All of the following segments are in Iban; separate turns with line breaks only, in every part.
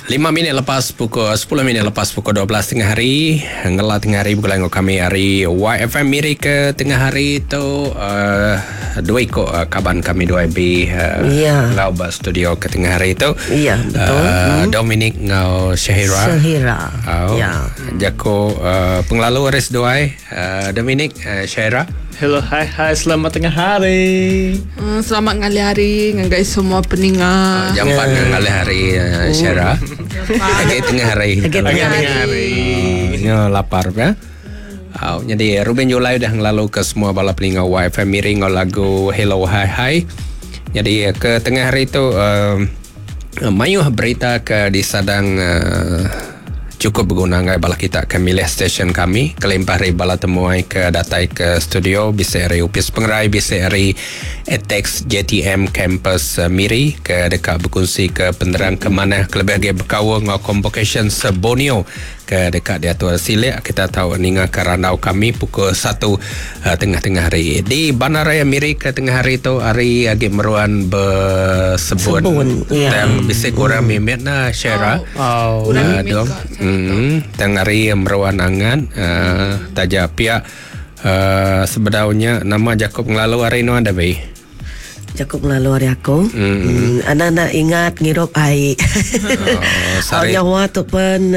Lima minit lepas pukul sepuluh minit lepas pukul 12 tengah hari ngela tengah hari begulai enggau kami ari YFM Miri ke tengah hari tu uh, dua iku uh, kaban kami dua IB uh,
Ya.
enggau ba studio ke tengah hari tu.
Ya, betul.
Uh, Dominic enggau Syahira.
Syahira.
Oh,
Ya.
Jaku uh, pengelalu ari seduai uh, Dominic uh, Syahira.
Hello, hi, hi, selamat tengah hari.
Selamat ngalih hari ngagai semua peninga.
Jampat yeah. ngalih hari uh, Syahira. Agi tengah hari.
Agi tengah
hari.
Nyo lapar ya. Oh, jadi Ruben Julai udah ngelalu ke semua bala peninga YFM Miri ngau lagu Hello Hi Hi. Jadi ke tengah hari tu mayuh berita ke disadang cukup berguna ngai bala kita ke milih stesen kami kelimpah hari bala temuai ke datai ke studio bisa hari Upis Pengerai bisa hari Atex JTM Campus Miri ke dekat berkongsi ke penerang ke mana kelebih lagi berkaul ngau convocation se-Borneo ke dekat diatur silik kita tahu ninga ke randau kami pukul 1 tengah-tengah hari di Bandaraya Miri ke tengah hari tu hari agi meruan bersebun.
Sebun, ya.
Dan bisa kurang mimit na Syara.
Oh.
Kurang mimit
dong.
kak.
Tang hari meruan angan taja pihak sebedaunya nama Jacob ngelalu hari nu ada bei.
Jacob ngelalu hari aku. Anak-anak ingat ngirup air.
Oh,
Oh,
sari.
nyawa tu pun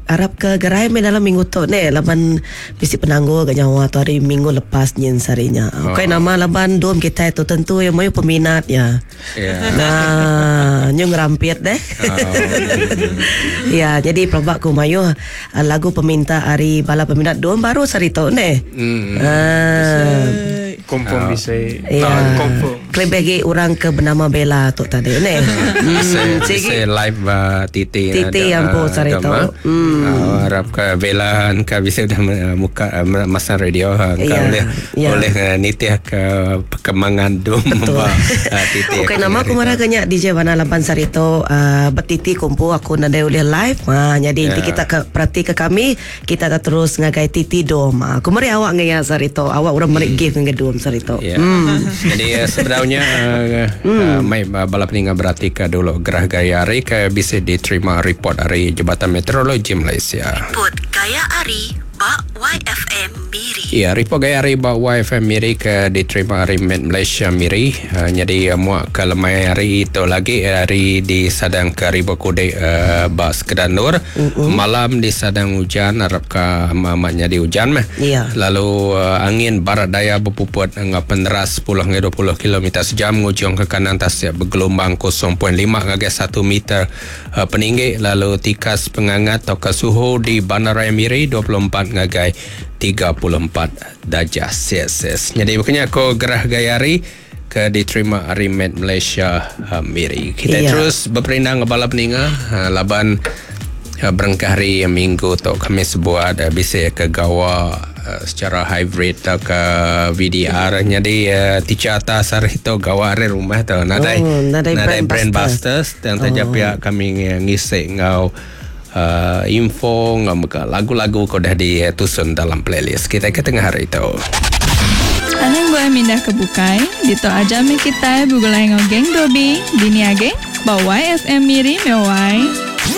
harap ke gerai me dalam minggu tu ne laban bisi penanggul ke nyawa tu hari minggu lepas nyin sarinya. Oh. Okey nama laban dom kita tu tentu yang mayu peminat ya.
Ya.
Nah, nyu ngerampit deh.
Oh.
ya, jadi pelabak ku mayu lagu peminta hari bala peminat dom baru sari tu ne. Ah.
Confirm bisa.
Ya.
Confirm.
Kelebih lagi orang ke bernama Bella tu tadi ne.
Bisa live Titi
Titi yang pun sari tu.
Harap ke Bella ke bisa dah muka masa radio ke
Ya,
boleh
ya.
boleh nitih ke perkembangan dum
Betul.
Titi.
Okey nama aku marah kenya DJ Wana Lampan Sarito bertiti kumpu aku nadai ulih live. Ha jadi nanti
Ya.
kita ke perhati ke kami kita tak terus ngagai Titi dom. Ha, aku meri awak ngaya Sarito. Awak orang meri gift ngagai dom Sarito.
Ya. Jadi sebenarnya mai bala peninga berarti ke dulu gerah gaya hari ke bisa diterima report dari Jabatan Meteorologi Malaysia.
Report Gaya Ari ba YFM Miri.
Ya, report gaya hari ba YFM Miri ke diterima hari Met Malaysia Miri. Jadi muak ke lemai hari itu lagi hari di Sadang ke Ribu Kude ba Sekedan Nur. Malam di Sadang hujan harap ke amat jadi hujan mah.
Ya.
Lalu angin barat daya berpuput dengan peneras 10 hingga 20 km sejam ngujung ke kanan tasik bergelombang 0.5 hingga 1 meter peninggi. Lalu tikas pengangat atau ke suhu di Bandaraya Miri 24 hingga 34 darjah Celsius. Jadi bukannya aku gerah gaya hari ke diterima hari Met Malaysia Miri. Kita
Ya.
terus berperindang ke bala peninga laban berengkah hari minggu tu kami sebuat bisa ke gawa secara hybrid atau ke VDR. Jadi teacher atas hari tu gawa hari rumah tu nadai
Oh, nadai
nadai
brand
brand busters dan oh. pihak kami ngisik ngau info ngau mega lagu-lagu kau dah ditusun dalam playlist kita ke tengah hari tu.
Anang gua mindah ke bukai, dito aja mi kita begulai ngau geng Dobi, dini age, bawa YFM Miri mewai.